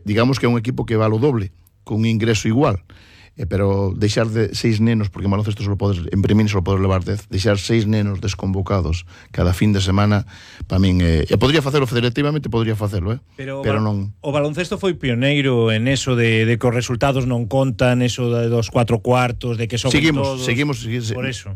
digamos que é un equipo que vale o doble, con un ingreso igual. Pero deixar de 6 nenos, porque en baloncesto só podes, en Premini só podes levar 10, deixar 6 nenos desconvocados cada fin de semana, para min, podría facelo federativamente, podría facelo, pero non. O baloncesto foi pioneiro en eso de que os resultados non contan, eso dos 4 cuartos, de que son todos. Seguimos, por eso.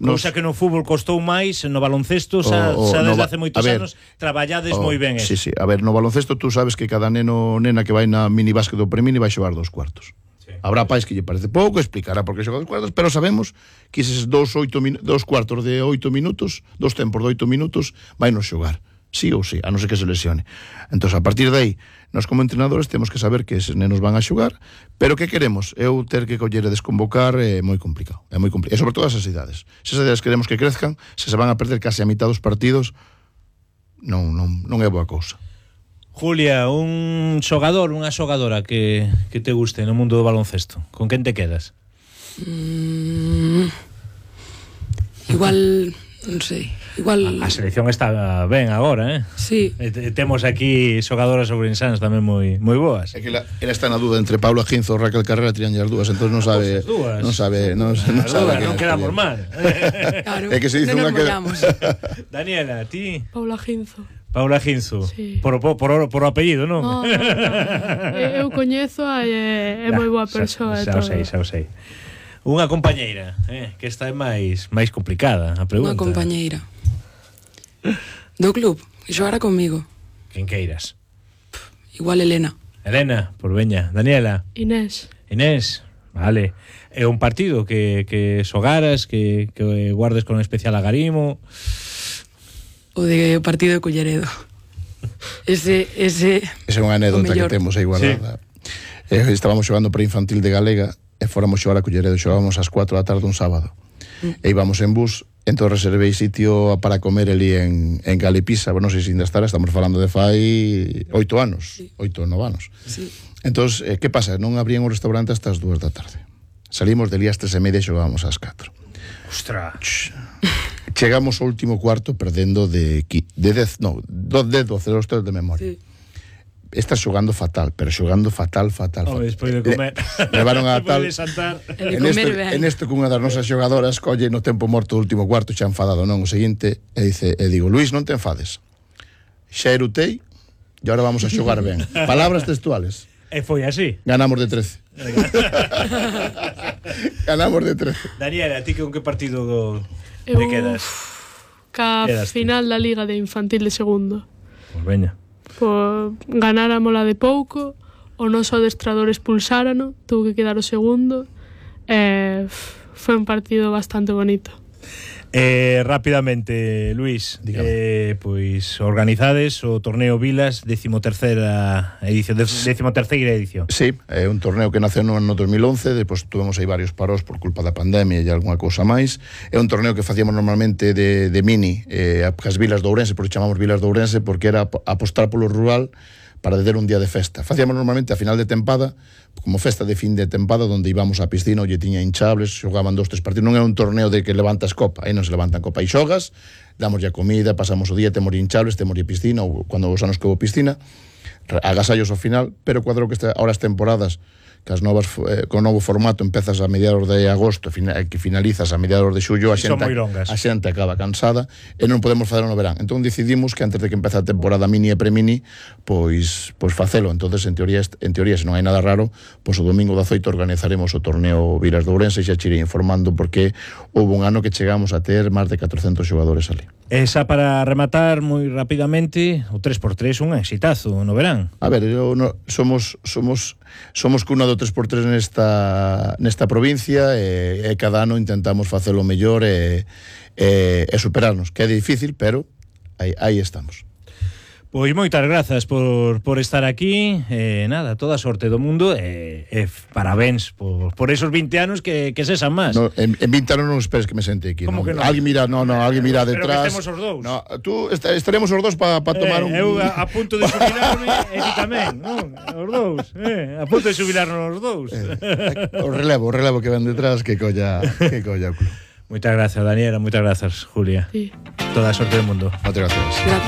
Cousa que no fútbol costou máis, no baloncesto xa desde hace moitos anos traballades moi ben eso. Sí, a ver, no baloncesto tú sabes que cada neno nena que vai na minibásquet do Premini vai xogar 2 cuartos. Habrá pais que lle parece pouco, explicará por que xoga 2 cuartos, pero sabemos que eses 2 cuartos de 8 minutos, 2 tempos de 8 minutos, vai nos xogar, sí ou sí, a non ser que se lesione. Entón, a partir de aí, nós como entrenadores temos que saber que eses nenos van a xogar, pero que queremos? Eu ter que coller e desconvocar é moi complicado, e sobre todo esas idades. Se esas idades queremos que crezcan, se van a perder case a mitad dos partidos, non é boa cousa. Julia, un xogador, unha xogadora que te guste no mundo do baloncesto, con quen te quedas? Igual, non sei, igual... A selección está ben agora, Sí. Temos aquí xogadoras ourensanas tamén moi boas. É que ela está na dúda entre Paula Ginzo ou Raquel Carrera, tiran as dúas, entón non sabe... Non quedamos mal. Claro, é que se dice non unha nos mollamos. Daniela, ti? Paula Ginzo. Paula Ginzo, sí. por o apellido, non? No. Eu coñezo e é moi boa persoa. Xa o sei. Unha compañeira, que esta é máis complicada a pregunta. Unha compañeira do club, que xogara comigo. Quen queiras? Igual Elena. Elena, por veña. Daniela? Inés, vale. É un partido que xogaras, que guardes con especial agarimo... O de partido de Culleredo. Ese é unha anécdota que temos aí guardada. Sí. Estábamos xogando preinfantil de Galega e fóramos xogar a Culleredo, xogábamos ás 4 da tarde un sábado. E íbamos en bus, entón reservei sitio para comer ali en Galipisa, non sei se ainda estará, estamos falando de fai 8 anos, 8 ou 9 anos. Sí. Entón, que pasa? Non abrían o restaurante hasta as 2 da tarde. Salimos de ali ás 3:30 e xogábamos ás 4. Ostras. Chegamos ao último cuarto perdendo de 12 os tres de memoria. Sí. Estás xogando fatal, pero xogando fatal. Despois de comer. Levaron a tal. En este cunha das nosas xogadoras colle no tempo morto do último cuarto, xa enfadado, non, o seguinte, e digo, Luís, non te enfades. Xa erutei e agora vamos a xogar ben. Palabras textuales. E foi así. Ganamos de 13. Ganamos de 13. Daniela, a ti con que partido te quedas? Ca final da Liga de Infantil de segundo. Pois veña. Ganáramola de pouco, o noso adestrador expulsárano, tuvo que quedar o segundo. Foi un partido bastante bonito. Rápidamente, Luís, pois organizades o torneo Vilas, 13ª edición. Sí, é un torneo que naceu no ano 2011, depois tuvemos aí varios paros por culpa da pandemia e algunha cousa máis. É un torneo que facíamos normalmente de mini, as Vilas de Ourense, porque chamamos Vilas de Ourense, porque era apostar polo rural para ter un día de festa. Facíamos normalmente a final de tempada, como festa de fin de tempada, onde íbamos á piscina, onde tiña hinchables, xogaban 2-3 partidos. Non era un torneo de que levantas copa, aí non se levantan copa, aí xogas, damos ya comida, pasamos o día, temos hinchables, temos piscina, ou cando os anos que houve piscina, agasallos ao final, pero cuadro que ahora as temporadas, que as novas, con o novo formato empezas a mediados de agosto, que finalizas a mediados de xullo, a xente acaba cansada e non podemos facer no verán. Entón decidimos que antes de que empece a temporada mini e premini, pois facelo. Entonces, en teoría, se non hai nada raro, pois o domingo 18 organizaremos o torneo Vilas de Ourense e xa chirei informando porque houve un ano que chegamos a ter máis de 400 xogadores ali. Esa para rematar moi rapidamente, o 3x3 un exitazo no verán. A ver, somos cuna do 3x3 nesta provincia e cada ano intentamos facelo mellor e superarnos, que é difícil, pero aí estamos. Pois moitas grazas por estar aquí, nada, toda a sorte do mundo e parabéns por esos 20 anos que sesan máis. No, en 20 anos non esperes que me sente aquí. Como que non? Alguén mira detrás. Pero que estemos os dous. No, estaremos os dous para tomar un... Eu a punto de xubilarme e ti tamén, non? Os dous, a punto de xubilarnos os dous. O relevo que ven detrás que colla o club. Moitas grazas, Daniela, moitas grazas, Julia. Sí. Toda a sorte do mundo. Moitas grazas.